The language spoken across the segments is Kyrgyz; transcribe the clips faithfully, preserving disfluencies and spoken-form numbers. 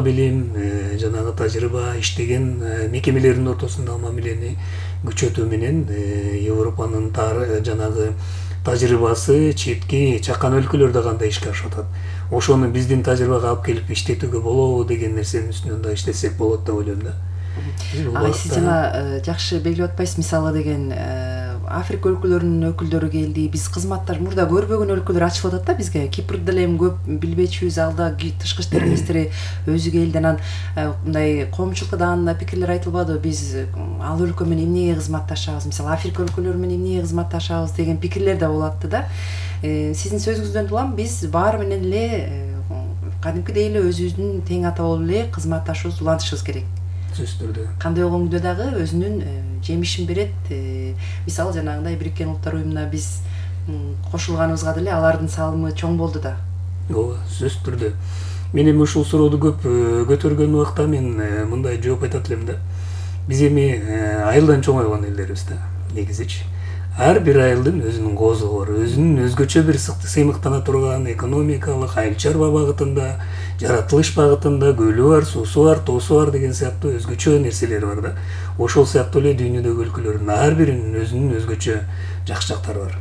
билим, жанагы тажрыйба, иштеген мекемелердин ортосундагы мамилени күчөтүү менен Европанын жанагы тажрыйбасы четки чакан өлкөлөрдө кандай ишке ашып атат. Ошону биздин тажрыйбага алып келип иштетүүгө болобу деген нерсенин үстүнөн да иштесек болот деп ойлойм да. Ага, сиз жана жакшы белгилеп атпайсыз, мисалы деген Африка өлкөлөрүнүн өкүлдөрү келди. Биз кызматтар мурда көрбөгөн өлкөлөр ачылып атат да бизге. Кипрди деле эми көп билбечүбүз. Алда тышкы иштер министри өзү келди. Анан мындай коомчулукта да анда пикирлер айтылбады. Биз ал өлкө менен эмнеге кызматташабыз, мисалы Африка өлкөлөрү менен эмнеге кызматташабыз деген пикирлер да болуп атты да. Сиздин сөзүңүздөн улам биз баары менен эле кадимкидей эле өзүбүздүн тең ата болуп эле кызматташыбыз, улантышыбыз керек. Сөзсүздү. Кандай болгондо дагы өзүнүн жемишин берет. Мисалы жанагындай Бириккен Улуттар уюмуна биз кошулганыбызга деле алардын салымы чоң болду да. Ооба, сөзсүз түрдө. Мен эми ушул сурооду көп көтөргөн убакта мен мындай жооп айтат элем да. Биз эми айылдан чоңойгон элдербиз да, негизичи. Ар бир айылдын өзүнүн коозугу бар, өзүнүн өзгөчө бир сыймыктана турган экономикалык, айыл чарба багытында, жаратылыш багытында көлү бар, суусу бар, тоосу бар деген сыяктуу өзгөчө нерселери бар да. Ошол сыяктуу эле дүйнөдөгү өлкөлөрдүн ар биринин өзүнүн өзгөчө жакшы жактары бар.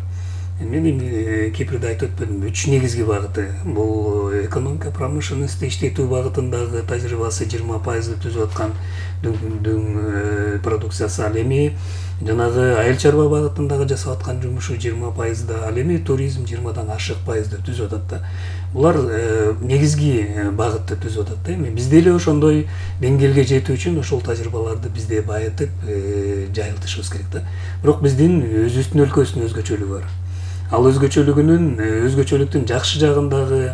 Мен эми Кипрди айтып өтпөдүм. Үч негизги багыты. Бул экономика, промышленность иштетүү багытындагы тажрыйбасы жыйырма пайызды түзүп аткан дүң продукциясы. Ал эми жанагы айыл чарба багытындагы жасап аткан жумушу жыйырма пайызда, ал эми туризм жыйырмадан ашык пайызды түзүп атат да. Булар негизги багытты түзүп атат да. Эми бизде эле ошондой деңгээлге жетүү үчүн ошол тажрыйбаларды бизде байытып жайылтышыбыз керек да. Бирок биздин өзүбүздүн өлкөбүздүн өзгөчөлүгү бар. Ал өзгөчөлүгүнүн өзгөчөлүктүн жакшы жагындагы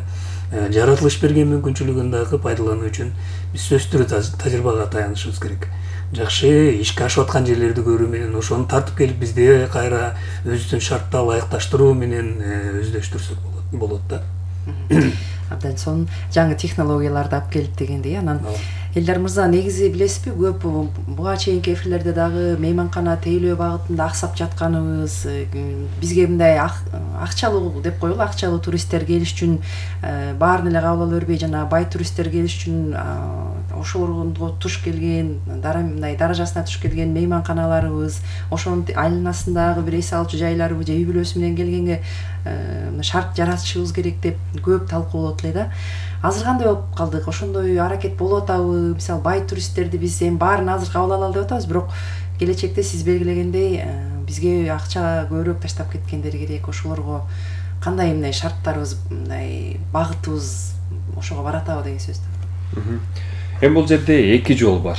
жаратылыш берген мүмкүнчүлүгүн дагы пайдалануу үчүн биз сөзсүз түрдө тажрыйбага таянышыбыз керек. Жакшы ишке ашып аткан жерлерди көрүү менен ошону тартып келип бизде кайра өзүбүздүн шартта ылайыкташтыруу менен өздөштүрсөк болот да. Абдан сонун жаңы технологияларды алып келип дегендей. Анан Элдар мырза, негизи билесизби, көп буга чейинки эфирлерде дагы мейманкана тейлөө багытында аксап жатканыбыз, бизге мындай акчалуу деп коелу, акчалуу туристтер келиш үчүн баарын эле кабыл ала бербей, жана бай туристтер келиш үчүн ошого туш келген, мындай даражасына туш келген мейманканаларыбыз, ошонун айланасындагы бир эс алчу жайларыбы же үй бүлөсү менен келгенге шарт жаратышыбыз керек деп көп талкуу болот эле да. Азыр кандай болуп калдык? Ошондой аракет болуп атабы? Мисалы, бай туристтерди биз эми баарын азыр кабыл ала алды деп атабыз, бирок келечекте сиз белгилегендей бизге акча көбүрөөк таштап кеткендер керек. Ошолорго кандай мындай шарттарыбыз, мындай багытыбыз ошого баратабы деген сөз да. Эми бул жерде эки жол бар.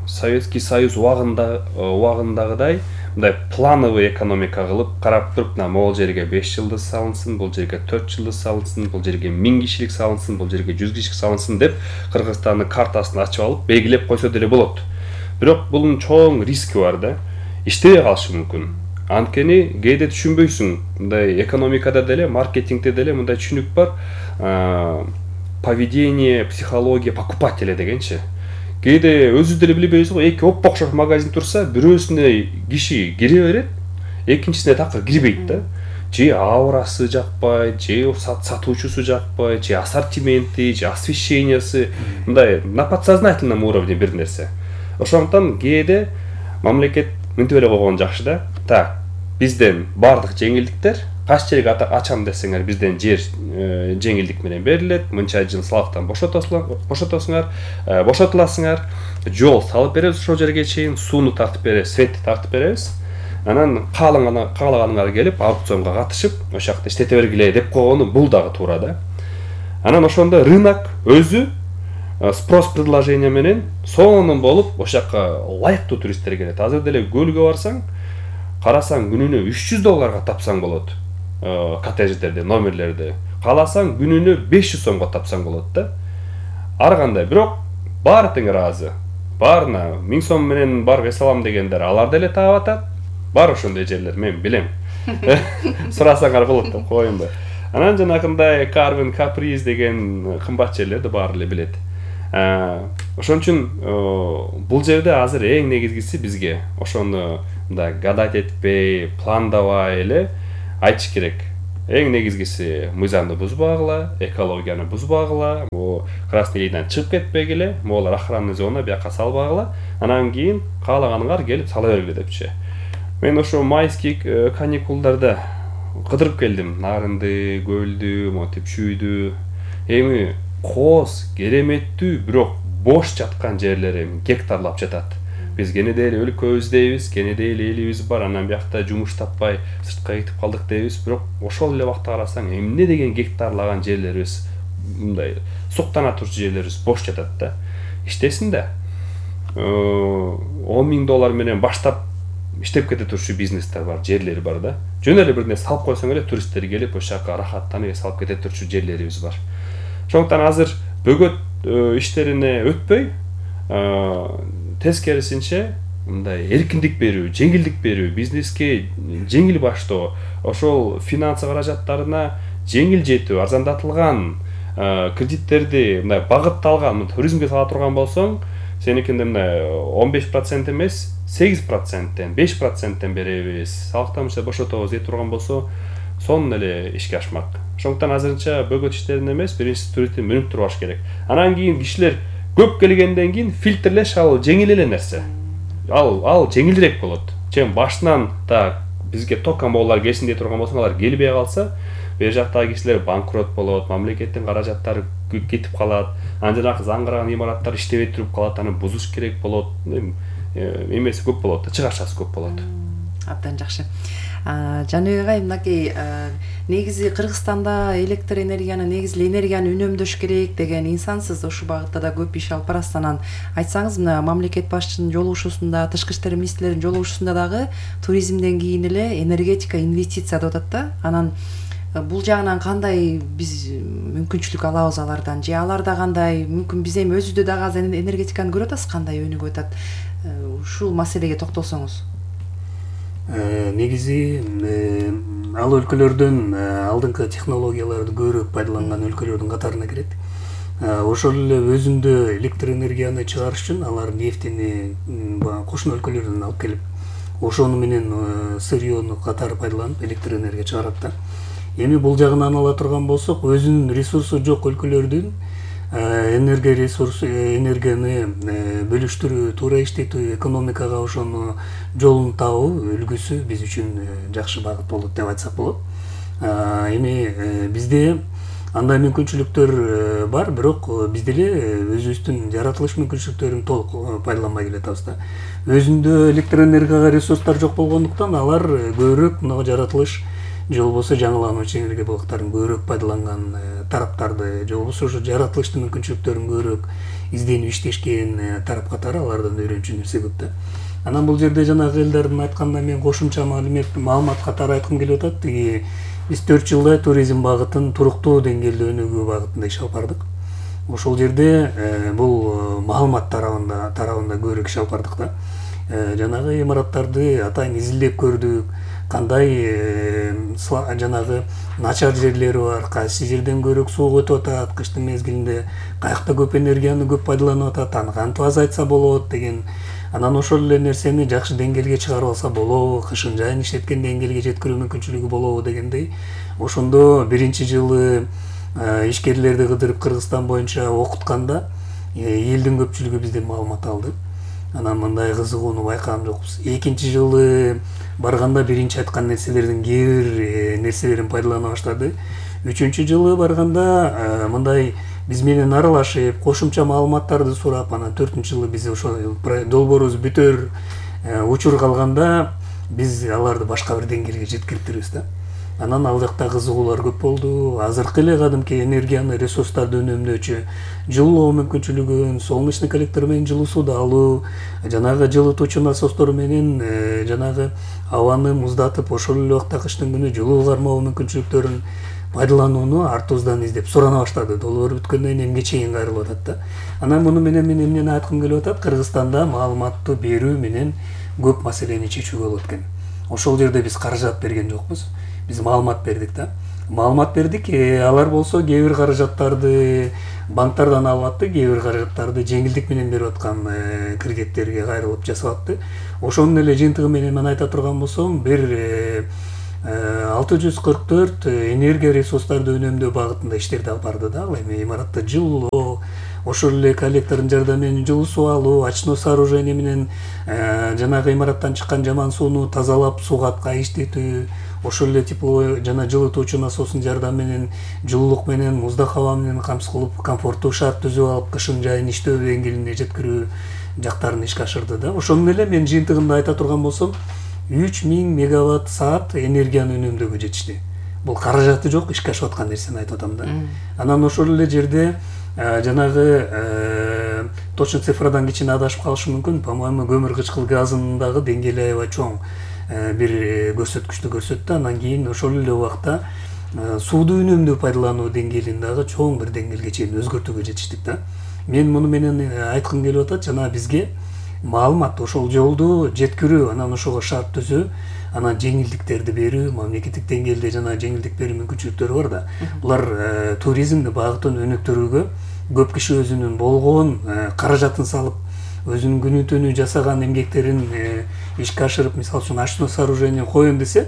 Советский Союз убагында убагындагыдай мындай плановый экономика кылып карап туруп, могул жерге беш жылдыз салынсын, бул жерге төрт жылдыз салынсын, бул жерге миң кишилик салынсын, бул жерге жүз кишилик салынсын деп Кыргызстандын картасын ачып алып белгилеп койсо деле болот. Бирок бунун чоң риски бар да. Иштебей калышы мүмкүн. Анткени кээде түшүнбөйсүң. Мындай экономикада деле, маркетингде деле мындай түшүнүк бар. Поведение, психология покупателя дегенчи. Кээде өзү деле билбейбиз го, эки оппо окшош магазин турса, бирөөсүнө киши кире берет, экинчисине такыр кирбейт да. Же аурасы жакпайт, же сатуучусу жакпайт, же ассортименти, же освещениясы, мындай на подсознательном уровне бир нерсе. Ошондуктан кээде мамлекет мынтип эле койгон жакшы да. Так, бизден бардык жеңилдиктер, кайсы жерге ачам десеңер, бизден жер жеңилдик менен берилет, мынча жыл салыктан бошотосуңар, бошотуласыңар, жол салып беребиз ошол жерге чейин, сууну тартып беребиз, светти тартып беребиз. Анан каалаганыңар келип, аукционго катышып, ошол жакта иштете бергиле деп койгону бул дагы туура да. Анан ошондо рынок өзү спрос предложение менен сонун болуп, ошол жакка ылайыктуу туристтер келет. Азыр деле көлгө барсаң, карасаң күнүнө үч жүз долларга тапсаң болот. Коттедждерди, номерлерди. Кааласаң күнүнө беш жүз сомго тапсаң болот да. Ар кандай, бирок баары тең ыраазы. Баарына миң сом менен барып эс алам дегендер алар деле таап атат. Бар ошондой жерлер, мен билем. Сурасаңар болот деп коеюнбу. Анан жанагындай Карвин, Каприз деген кымбат жерлерди баары эле билет. Ошон үчүн бул жерде азыр эң негизгиси бизге ошону мындай гадать этпей, пландабай эле айтыш керек. эң негизгиси мыйзамды бузбагыла, экологияны бузбагыла, бул красный линиядан чыгып кетпегиле, могулар охранный зона бияка салбагыла, анан кийин каалаганыңар келип сала бергиле депчи. Мен ошо майский каникулдарда кыдырып келдим, Нарынды, Көлдү, монтип Чүйдү. Эми кооз, кереметтүү, бирок бош жаткан жерлери гектарлап жатат. Биз кенеде эле өлкөбүз дейбиз, кенеде эле элибиз бар, анан биякта жумуш таппай сыртка кетип калдык дейбиз, бирок ошол эле убакта карасаң эмне деген гектарлаган жерлерибиз, мындай суктана турчу жерлерибиз бош жатат да. Иштесин да. он миң доллар менен баштап иштеп кете турчу бизнестер бар, жерлери бар да. Жөн эле бир нерсе салып койсоң эле туристтер келип ошол жака рахаттанып салып кете турчу жерлерибиз бар. Ошондуктан азыр бөгөт иштерине өтпөй, тескерисинче мындай эркиндик берүү, жеңилдик берүү, бизнеске жеңил баштоо, ошол финансы каражаттарына жеңил жетүү, арзандатылган кредиттерди мындай багытталган туризмге сала турган болсоң, сеникинде мындай он беш процент эмес, сегиз проценттен, беш проценттен беребиз. Салыктан бошотобуз дей турган болсо, сонун эле ишке ашмак. Ошондуктан азырынча бөгөт иштерин эмес, биринчи туристти мүнүп турбаш керек. Анан кийин кишилер көп келгенден кийин фильтрлеш ал жеңил эле нерсе. Ал ал жеңилирээк болот. Чем башынан да бизге токка моолар келсин дей турган болсоң, алар келбей калса, бер жактагы кишилер банкрот болот, мамлекеттин каражаттары кетип калат, анан жанагы заңгыраган имараттар иштебей туруп калат, аны бузуш керек болот. Эмеси көп болот, чыгашасы көп болот. Абдан жакшы. Жаныбек агай, мынакей негизи Кыргызстанда электр энергияны, негизи энергияны үнөмдөш керек деген инсансыз, ошол багытта да көп иш алып барасыз. Анан айтсаңыз, мына мамлекет башчысынын жолугушуусунда, тышкы иштер министрлеринин жолугушуусунда дагы туризмден кийин эле энергетика, инвестиция деп атат да. Анан бул жагынан кандай биз мүмкүнчүлүк алабыз алардан, же аларда кандай мүмкүн биз эми өзүбүздө дагы азыр энергетиканы көрүп атасыз, кандай өнүгүп атат. Ушул маселеге токтолсоңуз. Негизи ал өлкөлөрдөн алдыңкы технологияларды көбүрөөк пайдаланган өлкөлөрдүн катарына кирет. Ошол эле өзүндө электр энергияны чыгарыш үчүн алар нефтини кошуна өлкөлөрдөн алып келип, ошону менен сырьёну катары пайдаланып электр энергия чыгарат да. Эми бул жагынан ала турган болсок, өзүнүн ресурсу жок өлкөлөрдүн энергия ресурсу, энергияны бөлүштүрүү, туура иштетүү, экономикага ошону жолун табуу үлгүсү биз үчүн жакшы багыт болот деп айтсак болот. Эми бизде андай мүмкүнчүлүктөр бар, бирок биз деле өзүбүздүн жаратылыш мүмкүнчүлүктөрүн толук пайдаланбай келатабыз да. Өзүндө электр энергияга ресурстар жок болгондуктан алар көбүрөөк мына жаратылыш же болбосо жаңылануучу энергия блоктарын көбүрөөк пайдаланган тараптарды, же болбосо ошо жаратылыштын мүмкүнчүлүктөрүн көбүрөөк изденип иштешкен тарап катары алардан үйрөнчү нерсе көп да. Анан бул жерде жанагы элдердин айтканда мен кошумча маалымат катары айткым келип атат. Тиги биз төрт жылда туризм багытын туруктуу деңгээлде өнүгүү багытында иш алып бардык. Ошол жерде бул маалымат тарабында тарабында көбүрөөк иш алып бардык да. Жанагы имараттарды атайын изилдеп көрдүк. Кандай жанагы начар жерлери бар, кайсы жерден көбүрөөк суу өтүп атат, кыштын мезгилинде каякта көп энергияны көп пайдаланып атат, аны кантип азайтса болот деген. Анан ошол эле нерсени жакшы деңгээлге чыгарып алса болобу, кышын жайын иштеткен деңгээлге жеткирүү мүмкүнчүлүгү болобу дегендей. Ошондо биринчи жылы ишкерлерди кыдырып Кыргызстан боюнча окутканда элдин көпчүлүгү бизден маалымат алды. Анан мындай кызыгууну байкаган жокпуз. Экинчи жылы барганда биринчи айткан нерселердин кээ бир нерселерин пайдалана баштады. Үчүнчү жылы барганда мындай биз менен аралашып, кошумча маалыматтарды сурап, анан төртүнчү жылы биз ошо долбоорубуз бүтөр учур калганда биз аларды башка бир деңгээлге жеткириптирбиз да. Анан ал жакта кызыгуулар көп болду. Азыркы эле кадимки энергияны, ресурстарды үнөмдөөчү жылуу мүмкүнчүлүгүн, солнечный коллектор менен жылуу сууду алуу, жанагы жылытуучу насостор менен жанагы абаны муздатып, ошол эле убакта кыштын күнү жылуу кармоо мүмкүнчүлүктөрүн пайдаланууну артыбыздан издеп сурана баштады. Долбоор бүткөндөн кийин эмге чейин кайрылып атат да. Анан муну менен мен эмнени айткым келип атат? Кыргызстанда маалыматтуу берүү менен көп маселени чечүүгө болот экен. Ошол жерде биз каражат берген жокпуз. Биз маалымат бердик да. Маалымат бердик, алар болсо кээ бир каражаттарды банктардан алып атты, кээ бир каражаттарды жеңилдик менен берип аткан кредиттерге кайрылып жасап атты. Ошонун эле жыйынтыгы менен мен айта турган болсом, бир алты жүз кырк төрт энергия ресурстарды үнөмдөө багытында иштерди алып барды да. Эми имаратта жылуу, ошол эле коллектордун жардамы менен жылуу суу алуу, очно сооружение менен жанагы имараттан чыккан жаман сууну тазалап сугатка иштетүү, ошол эле тепло жана жылытуучу насостун жардамы менен жылуулук менен муздак аба менен камсыз кылып комфорттуу шарт түзүп алып кышын жайын иштөө деңгээлине жеткирүү жактарын ишке ашырды да. Ошону менен мен жыйынтыгында айта турган болсом, үч миң мегаватт саат энергияны үнөмдөөгө жетишти. Бул каражаты жок, ишке ашып аткан нерсени айтып атам да. Анан ошол эле жерде жанагы точно цифрадан кичине адашып калышы мүмкүн. По-моему, көмүр кычкыл газынын дагы деңгээли аябай чоң бир көрсөткүчтү көрсөттү. Анан кийин ошол эле убакта сууду үнөмдөө пайдалануу деңгээлин дагы чоң бир деңгээлге чейин өзгөртүүгө жетиштик да. Мен муну менен айткым келип атат, жана бизге маалымат ошол жолду жеткирүү, анан ошого шарт түзүү, анан жеңилдиктерди берүү, мамлекеттик деңгээлде жана жеңилдик берүү мүмкүнчүлүктөрү бар да. Булар туризмди багытын өнүктүрүүгө көп киши өзүнүн болгон каражатын салып, өзүнүн күнү түнү жасаган эмгектерин ишке ашырып, мисалы үчүн очно сооружение коеюн десе,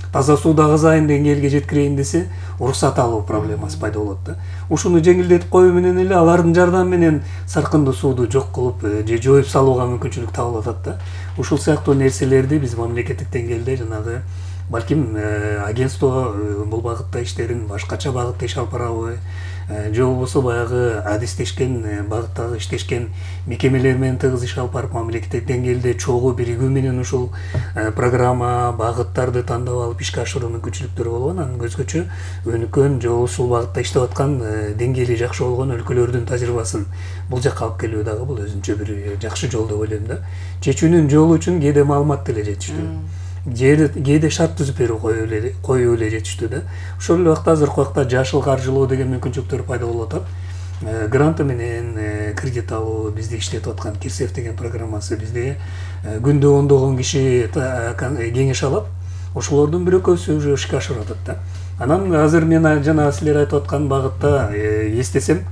таза сууду агызайын деңгээлге жеткирейин десе, уруксат алуу проблемасы пайда болот да. Ушуну жеңилдетип коюу менен эле алардын жардамы менен саркындуу сууду жок кылып же жоюп салууга мүмкүнчүлүк табылып атат да. Ушул сыяктуу нерселерди биз мамлекеттик деңгээлде жанагы балким агентство бул багытта иштерин башкача багытта иш алып барабы, же болбосо баягы адистешкен багыттагы иштешкен мекемелер менен тыгыз иш алып барып мамлекеттик деңгээлде чогуу биригүү менен ушул программа багыттарды тандап алып ишке ашыруу мүмкүнчүлүктөрү болуп, анан өзгөчө өнүккөн же ушул багытта иштеп аткан деңгээли жакшы болгон өлкөлөрдүн тажрыйбасын бул жакка алып келүү дагы бул өзүнчө бир жакшы жол деп ойлойм да. Чечүүнүн жолу үчүн кээде маалымат деле жетиштүү. Кээде шарт түзүп берүү коюу эле жетиштүү да. Ошол эле убакта азыркы убакта жашыл каржылоо деген мүмкүнчүлүктөр пайда болуп атат. Гранты менен кредит алуу, бизде иштетип аткан Кирсев деген программасы, бизде күндө ондогон киши кеңеш алат. Ошолордун бир экөөсү уже ишке ашырып атат да. Анан азыр мен жана силер айтып аткан багытта эстесем,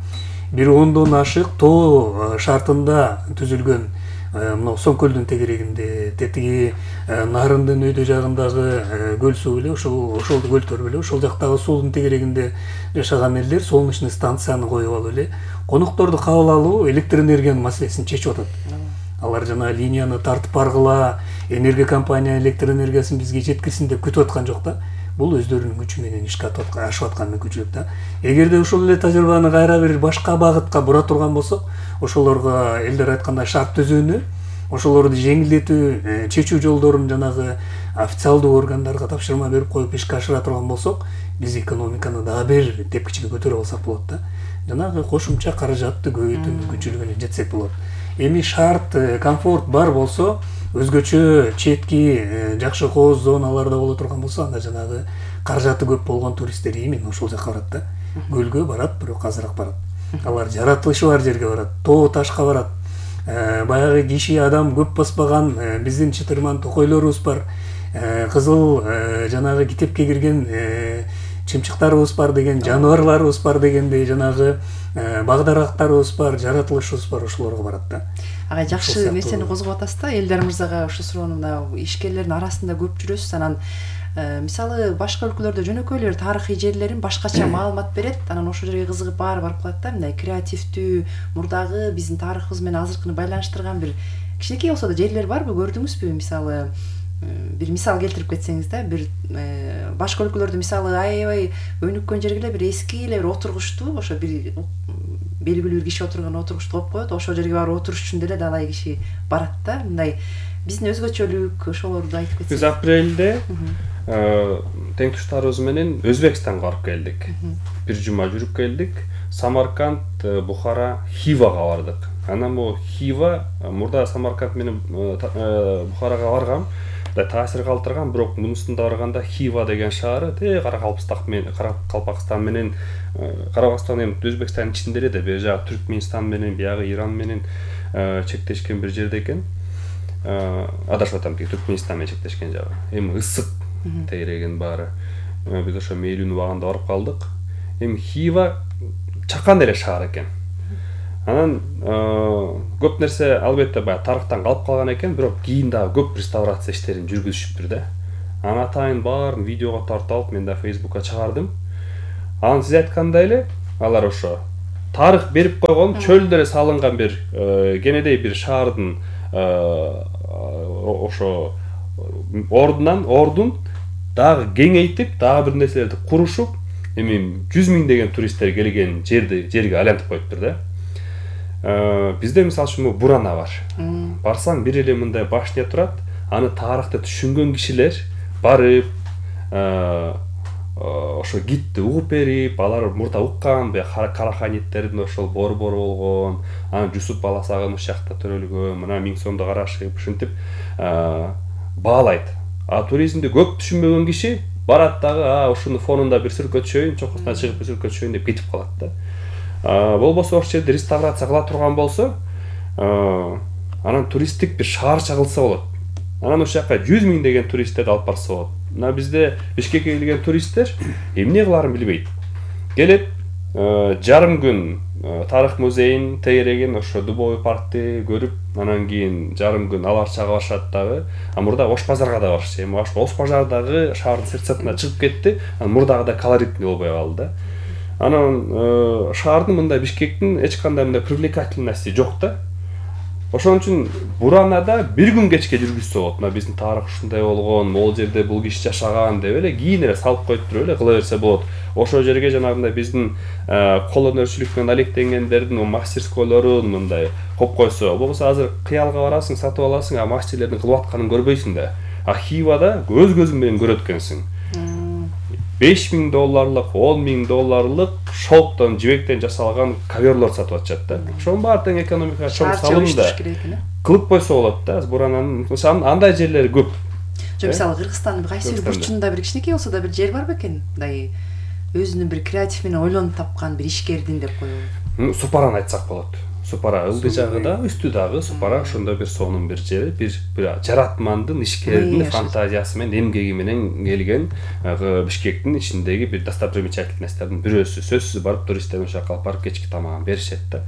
бир ондон ашык тоо шартында түзүлгөн мына Соңкөлдүн тегерегинде, тетиги Нарындын өйдө жагындагы көл суу эле, ошол ошол көлтөр эле, ошол жактагы суунун тегерегинде жашаган элдер солнечный станцияны коюп алып эле конокторду кабыл алуу, электр энергиянын маселесин чечип атат. Алар жана линияны тартып баргыла, энергия компания электр энергиясын бизге жеткирсин деп күтүп аткан жок да. Бул өздөрүнүн күчү менен ишке ашып аткан мүмкүнчүлүк да. Эгерде ошол эле тажрыйбаны кайра бир башка багытка бура турган болсок, ошолорго элдер айткандай шарт түзүүнү, ошолорду жеңилдетүү, чечүү жолдорун жанагы официалдуу органдарга тапшырма берип коюп ишке ашыра турган болсок, биз экономиканы дагы бир тепкичке көтөрүп алсак болот да. Жанагы кошумча каражатты көбөйтүү мүмкүнчүлүгүнө жетсек болот. Эми шарт, комфорт бар болсо, өзгөчө четки жакшы кооз зоналарда боло турган болсо, анда жанагы каражаты көп болгон туристтер именно ошол жака барат да. Көлгө барат, бирок азыраак барат. Алар жаратылышы бар жерге барат, тоо ташка барат. Баягы киши адам көп баспаган биздин чытырман токойлорубуз бар. Кызыл жанагы китепке кирген чымчыктарыбыз бар деген, жаныбарларыбыз бар дегендей, жанагы багдарактарыбыз бар, жаратылышыбыз бар, ошолорго барат да. Ага, жакшы нерсени козгоп атасыз да. Элдар мырзага ушу суроону мына ишкерлердин арасында көп жүрөсүз. Анан мисалы башка өлкөлөрдө жөнөкөй эле тарыхый жерлерин башкача маалымат берет. Анан ошол жерге кызыгып баары барып калат да. Мындай креативдүү, мурдагы биздин тарыхыбыз менен азыркыны байланыштырган бир кичинекей болсо да жерлер барбы, көрдүңүзбү? Мисалы бир мисал келтирип кетсеңиз да, бир башка өлкөлөрдө мисалы аябай өнүккөн жерге бир эски эле бир отургучту, ошо бир белгилүү бир киши отурган отургучту коюп коет, ошол жерге барып отуруш үчүн деле далай киши барат да. Мындай биздин өзгөчөлүк ошолорду айтып кетсеңиз. Биз апрелде тең туштарыбыз менен Өзбекстанга барып келдик. Бир жума жүрүп келдик. Самарканд, Бухара, Хивага бардык. Анан бу Хива мурда Самарканд менен Бухарага баргам, таасир калтырган, бирок мунусунда барганда Хива деген шаары те Каракалпакстан менен Каракалпакстан менен Карабастан эми Өзбекстандын ичинде эле да, бери жагы Түркмөнстан менен, биягы Иран менен чектешкен бир жерде экен. Адашып атам, Түркмөнстан менен чектешкен жагы. Эми ысык тегерегин баары. Биз ошо мейлүүнү убагында барып калдык. Эми Хива чакан эле шаар экен. Анан көп нерсе албетте баягы тарыхтан калып калган экен, бирок кийин дагы көп реставрация иштерин жүргүзүшүптүр да. анын атайын баарын видеого тартып алып мен да Facebookка чыгардым. Анан сиз айткандай эле алар ошо тарых берип койгон чөлдөрө салынган бир кенедей бир шаардын ошо ордунан ордун дагы кеңейтип, дагы бир нерселерди курушуп, эми жүз миң деген туристтер келген жерди жерге айлантып коюптур да. Бизде мисалы үчүн Бурана бар. Барсаң бир эле мындай башня турат, аны тарыхты түшүнгөн кишилер барып, ошо гидти угуп берип, алар мурда уккан, Караханиттердин ошол борбор болгон, анан Жусуп баласагын ушул жакта төрөлгөн, мына миң сомду карашып, ушинтип баалайт. А туризмди көп түшүнбөгөн киши барат дагы, а ушуну фонунда бир сүркө түшөйүн, чокусуна чыгып бир сүркө түшөйүн деп кетип калат да. Болбосо ошол жерди реставрация кыла турган болсо, анан туристтик бир шаарча кылса болот. Анан ошол жака жүз миң деген туристтерди алып барса болот. Мына бизде Бишкекке келген туристтер эмне кыларын билбейт. Келет, жарым күн тарых музейин тегерегин, ошо Дубовый паркты көрүп, анан кийин жарым күн алар чага барышат дагы. А мурда Ош базарга да барышты. Эми Ош базардагы шаардын сыртына чыгып кетти. Анан мурдагыдай колоритный болбой калды да. Анан шаардын мындай Бишкектин эч кандай мындай привлекательности жок да. Ошон үчүн Буранада бир күн кечке жүргүзсө болот. Мына биздин тарых ушундай болгон, могул жерде бул киши жашаган деп эле кийин эле салып коюп туруп эле кыла берсе болот. Ошол жерге жанагындай биздин кол өнөрчүлүк менен алектенгендердин мастерскойлорун мындай коюп койсо, болбосо азыр кыялга барасың, сатып аласың, а мастерлердин кылып атканын көрбөйсүң да. А Хивада өз көзүң менен көрөт экенсиң. беш миң долларлык, он миң долларлык шелктон, жибектен жасалган коверлор сатып атышат да. Ошонун баары тең экономикага чоң салымда кылып койсо болот да. Бурананын андай жерлери көп. Жок, мисалы Кыргызстандын кайсы бир бурчунда бир кичинекей болсо да бир жер бар бекен? Мындай өзүнүн бир креатив менен ойлонуп тапкан бир ишкердин деп коелу. Супараны айтсак болот. Супара ылдый жагы да, үстү дагы Супара ошондой бир сонун бир жери, бир бир жаратмандын, ишкердин фантазиясы менен, эмгеги менен келген Бишкектин ичиндеги бир достопримечательносттордун бирөөсү. Сөзсүз барып туристтерди ошол жака алып барып кечки тамагын беришет да.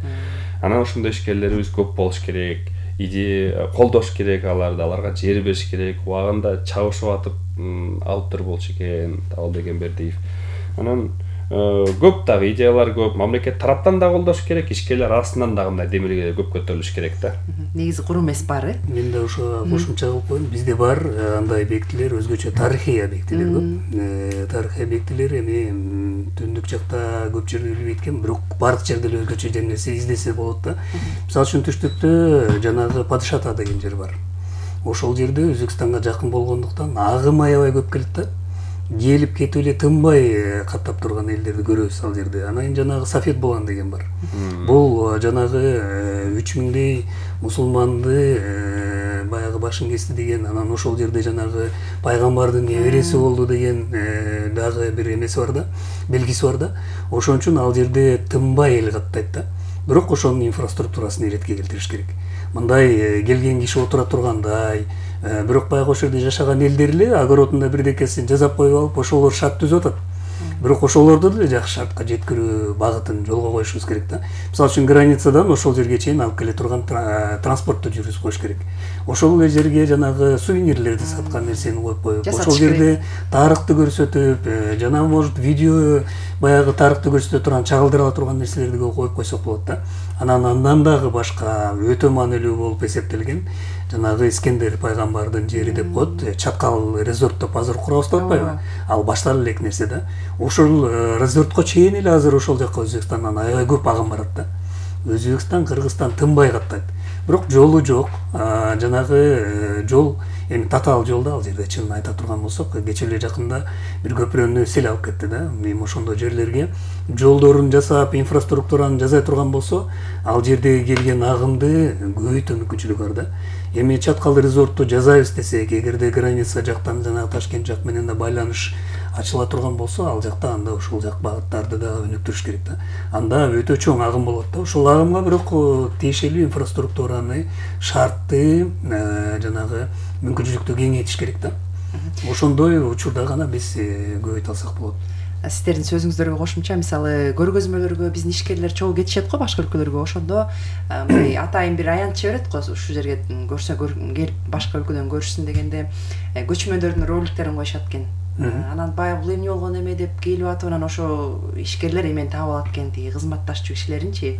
Анан ошондой ишкерлерибиз көп болуш керек. Идея колдош керек аларды, аларга жер бериш керек, убагында чабышып атып алып туруп болчу экен, Табылбек Бердиев. Анан көп дагы идеялар көп, мамлекет тараптан да колдош керек, ишкерлер арасынан дагы мындай демилге көп көтөрүлүш керек да. Негизи куру эмес бар, э? Мен да ошо кошумча кылып коеюн. Бизде бар андай объектилер, өзгөчө тарыхый объектилер көп. Тарыхый объектилер эми түндүк жакта көп жерде билбейт экен, бирок бардык жерде эле өзгөчө жер нерсе издесе болот да. Мисалы үчүн түштүктө жанагы Падыш ата деген жер бар. Ошол жерде Өзбекстанга жакын болгондуктан агым аябай көп келет да. Келип кетип эле тынбай каттап турган элдерди көрөбүз ал жерде. Анан жанагы Сафет Булан деген бар. Бул жанагы үч миңдей мусулманды баягы башын кести деген, анан ошол жерде жанагы пайгамбардын небереси болду деген дагы бир эмеси бар да, белгиси бар да. Ошон үчүн ал жерде тынбай эл каттайт да. Бирок ошонун инфраструктурасын иретке келтириш керек. Мындай келген киши отура тургандай, бирок баягы ошол жерде жашаган элдер эле огородунда бирдекесин жасап коюп алып, ошолор шарт түзүп атат. Бирок ошолорду деле жакшы шартка жеткирүү багытын жолго коюшубуз керек да. Мисалы үчүн границадан ошол жерге чейин алып келе турган транспортту жүргүзүп коюш керек. Ошол эле жерге жанагы сувенирлерди саткан нерсени коюп коюп, ошол жерде тарыхты көрсөтүп, жана может видео баягы тарыхты көрсөтө турган, чагылдыра турган нерселерди коюп койсок болот да. Анан андан дагы башка өтө маанилүү болуп эсептелген жанагы Искендер пайгамбардын жери деп коет, Чаткал резорт деп азыр курабыз деп атпайбы? Ал баштала элек нерсе да. Ошол резортко чейин эле азыр ошол жака Өзбекстандан аябай көп агым барат да. Өзбекстан, Кыргызстан тынбай каттайт. Бирок жолу жок. Жанагы жол эми татаал жол да, ал жерде чынын айта турган болсок, кече эле жакында бир көпүрөнү сел алып кетти да. Эми ошондой жерлерге жолдорун жасап, инфраструктураны жасай турган болсо, ал жердеги келген агымды көбөйтүү мүмкүнчүлүгү бар да. Эми Чаткал резортту жасайбыз десек, эгерде граница жактан жанагы Ташкент жак менен да байланыш ачыла турган болсо, ал жакта анда ушул жак багыттарды да өнүктүрүш керек да. Анда өтө чоң агым болот да. Ошол агымга бирок тиешелүү инфраструктураны, шартты, жанагы мүмкүнчүлүктү кеңейтиш керек да. Ошондой учурда гана биз көбөйтө алсак болот. Сиздердин сөзүңүздөргө кошумча мисалы көргөзмөлөргө биздин ишкерлер чогуу кетишет го башка өлкөлөргө, ошондо мындай атайын бир аянтчы берет го, ушул жерге көрсө келип башка өлкөдөн көрүшсүн дегенде көчмөндөрдүн роликтерин коюшат экен. Анан баягы бул эмне болгон эме деп келип атып, анан ошо ишкерлер эмени таап алат экен, тиги кызматташчу кишилеринчи.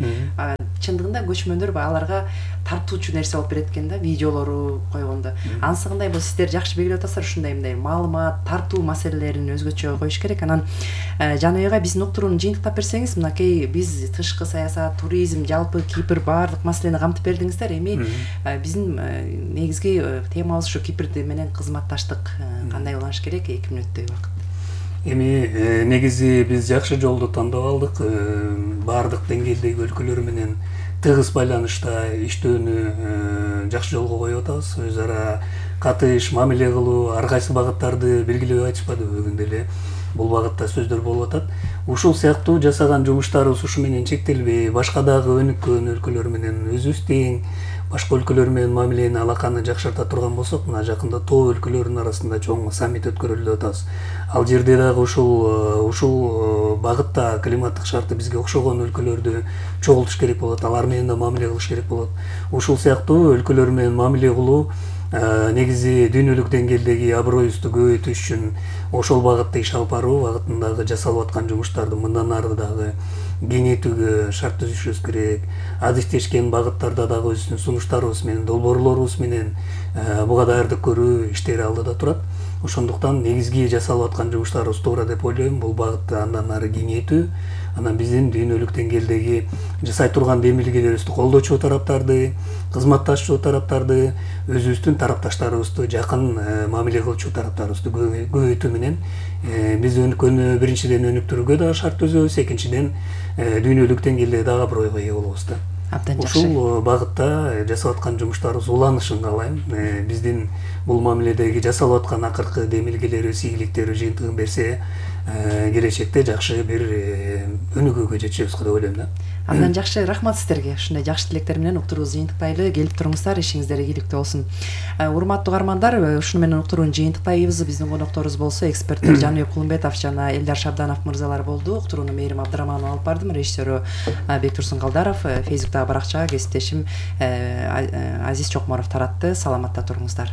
Чындыгында көчмөндөр аларга тартуучу нерсе болуп берет экен да, видеолору койгондо. Анысы кандай болсо сиздер жакшы белгилеп атасыздар, ушундай мындай маалымат, тартуу маселелерин өзгөчө коюш керек. Анан Жаныбек биздин уктурууну жыйынтыктап берсеңиз, мынакей биз тышкы саясат, туризм, жалпы Кипр баардык маселени камтып бердиңиздер. Эми биздин негизги темабыз ушу Кипр менен кызматташтык кандай уланыш керек эки мүнөттөй убакыт. Эми негизи биз жакшы жолду тандап алдык. Баардык деңгээлдеги өлкөлөр менен тыгыз байланышта иштөөнү жакшы жолго коюп атабыз. Өз ара катыш, мамиле кылуу, ар кайсы багыттарды белгилеп айтышпадыбы, бүгүн деле бул багытта сөздөр болуп атат. Ушул сыяктуу жасаган жумуштарыбыз ушу менен чектелбей, башка дагы өнүккөн өлкөлөр менен өзүбүз тең башка өлкөлөр менен мамилени, алаканы жакшырта турган болсок, мына жакында тоо өлкөлөрүнүн арасында чоң саммит өткөрүлүп деп атабыз. Ал жерде дагы ушул ушул багытта климаттык шарты бизге окшогон өлкөлөрдү чогултуш керек болот, алар менен да мамиле кылыш керек болот. Ушул сыяктуу өлкөлөр менен мамиле кылуу негизи дүйнөлүк деңгээлдеги аброюбузду көбөйтүш үчүн ошол багытта иш алып баруу багытындагы жасалып аткан жумуштарды мындан ары дагы кеңейтүүгө шарт түзүшүбүз керек. Адистешкен багыттарда дагы өзүбүздүн сунуштарыбыз менен, долбоорлорубуз менен буга даярдык көрүү иштери алдыда турат. Ошондуктан негизги жасалып аткан жумуштарыбыз туура деп ойлойм. Бул багытты андан ары кеңейтүү, анан биздин дүйнөлүк деңгээлдеги жасай турган демилгелерибизди колдоочу тараптарды, кызматташчу тараптарды, өзүбүздүн тарапташтарыбызды жакын мамиле кылчу тараптарыбызды көбөйтүү менен биз өнүккөнү биринчиден өнүктүрүүгө дагы шарт түзөбүз, экинчиден дүйнөлүк деңгээлде дагы абройго ээ болобуз да. Ушул багытта жасап аткан жумуштарыбыз уланышын каалайм. Биздин бул мамиледеги жасалып аткан акыркы демилгелерибиз, ийгиликтерибиз жыйынтыгын берсе, келечекте жакшы бир өнүгүүгө жетишебиз деп ойлойм да. Андан жакшы, рахмат сиздерге. Ушундай жакшы тилектер менен уктуруубузду жыйынтыктайлы. Келип туруңуздар, ишиңиздер ийгиликтүү болсун. Урматтуу угармандар, ушуну менен уктурууну жыйынтыктайбыз. Биздин конокторубуз болсо эксперттер Жаныбек Кулумбетов жана Элдар Шабданов мырзалар болду. Уктурууну Мээрим Абдыраманова алып бардым. Режиссеру Бектурсун Калдаров, Фейсбуктагы баракчага кесиптешим Азиз Чокморов таратты. Саламатта туруңуздар.